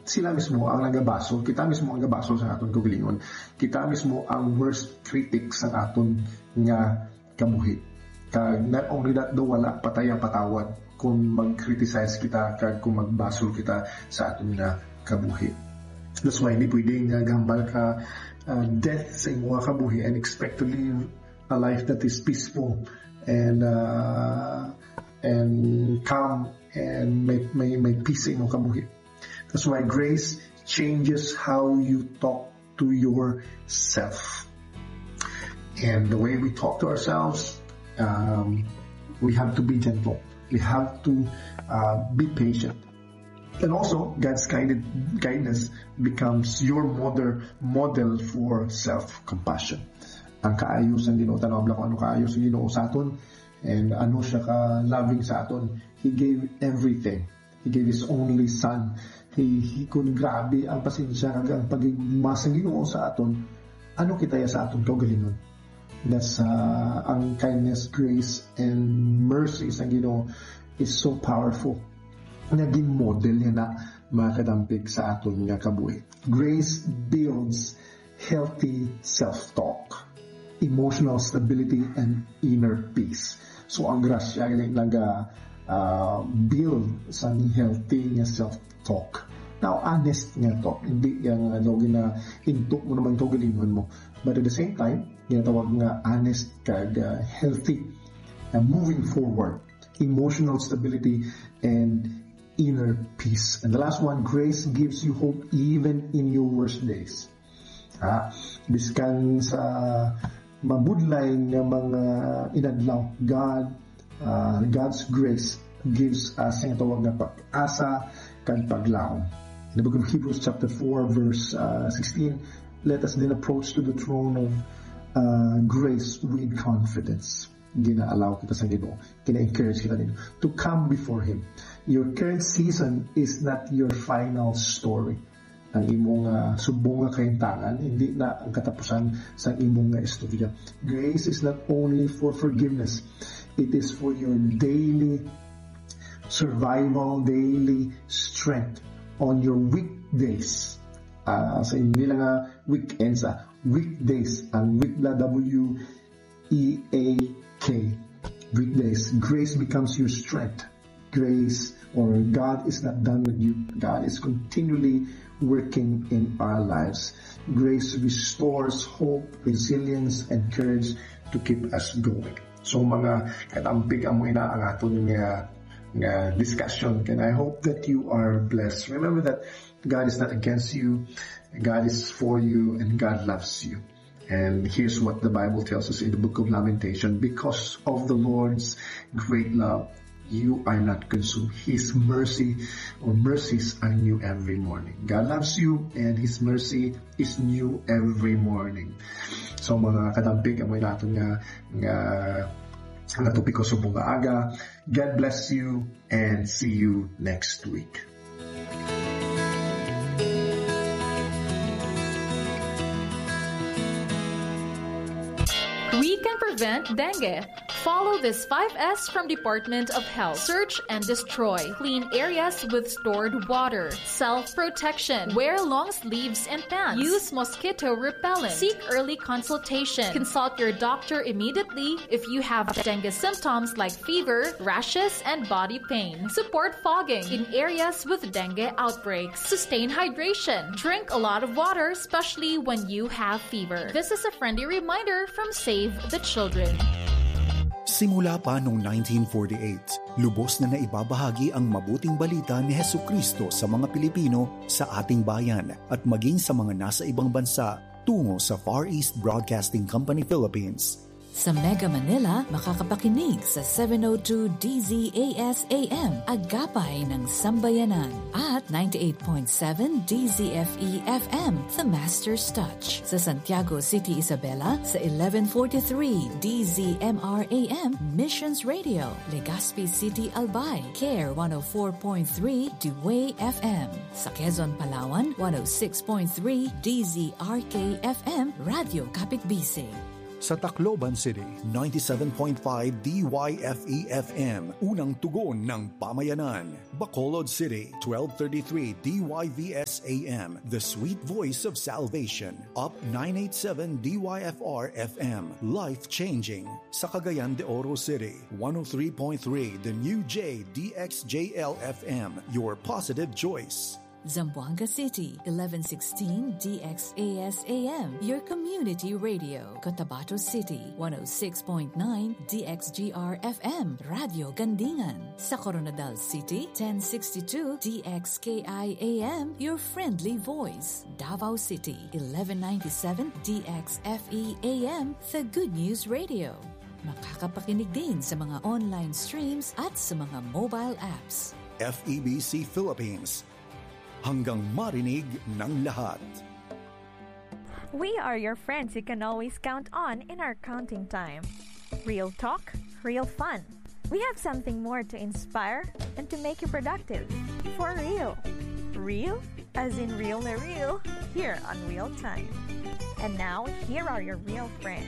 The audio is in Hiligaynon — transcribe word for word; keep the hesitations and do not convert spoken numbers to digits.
Sila mismo ang nagabasol, kita mismo ang nagabasol sa aton kaugalingon. Kita mismo ang worst critic sa aton nga kabuhi. Kag not only that, daw wala pa ta patawad kung mag-criticize kita kag kung magbasol kita sa aton nga kabuhi. That's why hindi pwede nga gambal ka, uh, death sa imo nga kabuhi and expect to live a life that is peaceful and, uh, and calm and may, may, may peace sa imong kabuhi. That's why grace changes how you talk to yourself. And the way we talk to ourselves, um, we have to be gentle. We have to, uh, be patient. And also, God's guided, guidance becomes your model, model for self-compassion. Ang kaayo sang Ginoo, tan-awa lang kung ano kaayo sang Ginoo sa aton, and ano siya ka-loving sa aton. He gave everything. He gave His only Son. He, he, kung grabe ang pasensya kag ang pagigmas sang Ginoo sa aton, ano kita ya sa aton kaugalingon? That's, uh, ang kindness, grace, and mercy sa Ginoo is so powerful. Nga gin-model niya na, mga kadampig, sa aton nga kabuhi. Grace builds healthy self-talk, emotional stability, and inner peace. So, ang grasya gani naga, ah, build sa healthy nga self-talk. Now, honest nga talk. Hindi yang, ano, gina-, into mo naman kaugalingon mo. But at the same time, ginatawag nga honest kag, ah, healthy, ah, moving forward, emotional stability, and inner peace. And the last one, grace gives you hope even in your worst days. Ha? Biskan sa mabudlay nga mga inadlaw, God, uh, God's grace gives us ang tawag nga pag-asa kag paglaom. In the book of Hebrews chapter four, verse, uh, sixteen, "Let us then approach to the throne of, uh, grace with confidence." Gina-allow kita sa Ginoo, gina-encourage kita nito to come before Him. Your current season is not your final story. Ang imong, ah, subong nga kahimtangan, hindi na ang katapusan sang imong nga istorya. Grace is not only for forgiveness, it is for your daily survival, daily strength on your weekdays. Ah, sa hindi lang nga weekends, ah, weekdays. Ang week na W E A K. Weekdays. Grace becomes your strength. Grace, or God is not done with you. God is continually working in our lives. Grace restores hope, resilience, and courage to keep us going. So, mga katampig, amo ina ang aton nga, nga discussion. And I hope that you are blessed. Remember that God is not against you. God is for you, and God loves you. And here's what the Bible tells us in the book of Lamentation: "Because of the Lord's great love, you are not consumed. His mercy or mercies are new every morning." God loves you, and His mercy is new every morning. So, mga katampig, amo naton nga, nga, nga topiko sa bunga aga. God bless you, and see you next week. We can prevent dengue. Follow this five S from Department of Health. Search and destroy. Clean areas with stored water. Self-protection. Wear long sleeves and pants. Use mosquito repellent. Seek early consultation. Consult your doctor immediately if you have dengue symptoms like fever, rashes, and body pain. Support fogging in areas with dengue outbreaks. Sustain hydration. Drink a lot of water, especially when you have fever. This is a friendly reminder from Save the Children. Simula pa noong nineteen forty-eight, lubos na naibabahagi ang mabuting balita ni Jesucristo sa mga Pilipino sa ating bayan at maging sa mga nasa ibang bansa tungo sa Far East Broadcasting Company Philippines. Sa Mega Manila, makakapakinig sa seven oh two D Z A S A M, Agapay ng Sambayanan, at ninety-eight point seven D Z F E F M, The Master's Touch. Sa Santiago City, Isabela, sa eleven forty-three D Z M R A M, Missions Radio, Legazpi City, Albay, Care one oh four point three, Dway F M. Sa Quezon, Palawan, one oh six point three D Z R K F M, Radyo Kapitbisig. Sa Tacloban City, ninety-seven point five D Y F E F M, unang tugon ng pamayanan. Bacolod City, twelve thirty-three D Y V S A M, the sweet voice of salvation. Up nine eight seven D Y F R F M, life-changing. Sa Cagayan de Oro City, one oh three point three The New J D X J L F M, your positive choice. Zamboanga City, eleven sixteen D X A S A M, your community radio. Cotabato City, one oh six point nine D X G R F M, Radio Gandingan. Sa Koronadal City, ten sixty-two D X K I A M, your friendly voice. Davao City, eleven ninety-seven D X F E A M, the Good News Radio. Makakapakinig din sa mga online streams at sa mga mobile apps. F E B C Philippines. Hanggang marinig ng lahat. We are your friends you can always count on in our counting time. Real talk, real fun. We have something more to inspire and to make you productive. For real. Real? As in real na real. Here on Real Time. And now, here are your real friends.